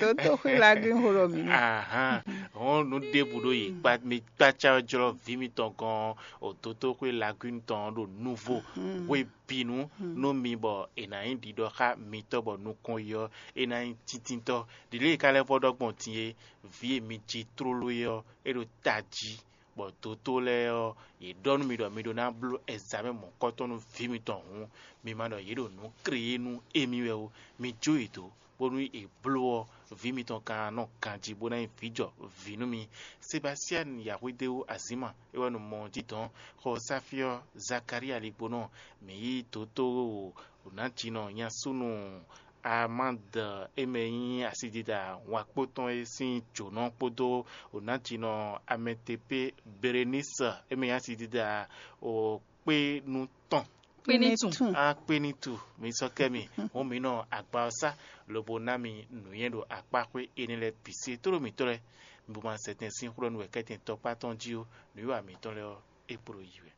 Dotóxwé Lagwín xó ɖɔ mi ɖe. Ahan, hɔn nú ɖěbǔ ɖo yě kpa mi kpácá ɔ́ jlɔ́ vǐ mitɔn gɔ́n ɔ́, o dotóxwé Lagwín tɔn ɖo nuvo hwebǐnu nú mi bɔ è nǎ nyí ɖiɖɔ xá mitɔ́ bɔ nukɔn yi ɔ́, é ná nyí tíntínntɔ́. Ɖiɖě e ka lɛ́ vɔ ɖɔ gbɔn din é, vǐ e mi ji tlóló é ɔ́, é ɖo tají, bɔ dotó lɛ́ɛ ɔ́, yě ɖɔ nú mi ɖɔ mi ɖó ná bló ɛzamɛ mɔ̌kɔtɔn nú vǐ mitɔn hǔn, mi ma ɖɔ yě ɖo nǔ kreyé nú émí wɛ ó. Mi jó yě dó, bónú è bló ɔ́, vǐ mitɔn ka nɔ ganjí bó ná nyí vǐjɔ vǐ nú mi. Sebasiani Yahwedeu Azima é wɛ nɔ mɔ jí dɔn xɔ Safiɔ Zakaria ligbonɔ, mǐ yí dotó nǎjinɔ nyasúnú Amande é mɛ nyí asidida wákpó tɔn é sín jǒnɔ kpódó nǎjinɔ Amɛtepé Berenise é mɛ nyí asidida kpénu tɔn. Kpénitun. Akpénitu, mi sɔ́ kɛ mi, hɔn mi nɔ agba ɔ́ sá, lobo ná mi nǔnywɛ́ ɖo akpáxwé énɛ́ lɛ́ɛ bǐ sí. Tóɖó mǐtɔn lɛ́ɛ, mi bo ma sɛ tɛn sín xwlɔ́nú wɛ kɛ́tɛn tɔkpá tɔn jí ó, nǔwiwa mǐtɔn lɛ́ɛ ɔ́, é kpo ɖo yi wɛ.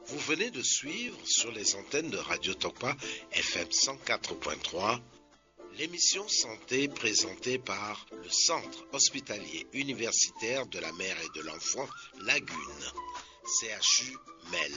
Vous venez de suivre sur les antennes de Radio Tokpa F M cent quatre point trois l'émission Santé présentée par le Centre hospitalier universitaire de la mère et de l'enfant Lagune, C H U Mel.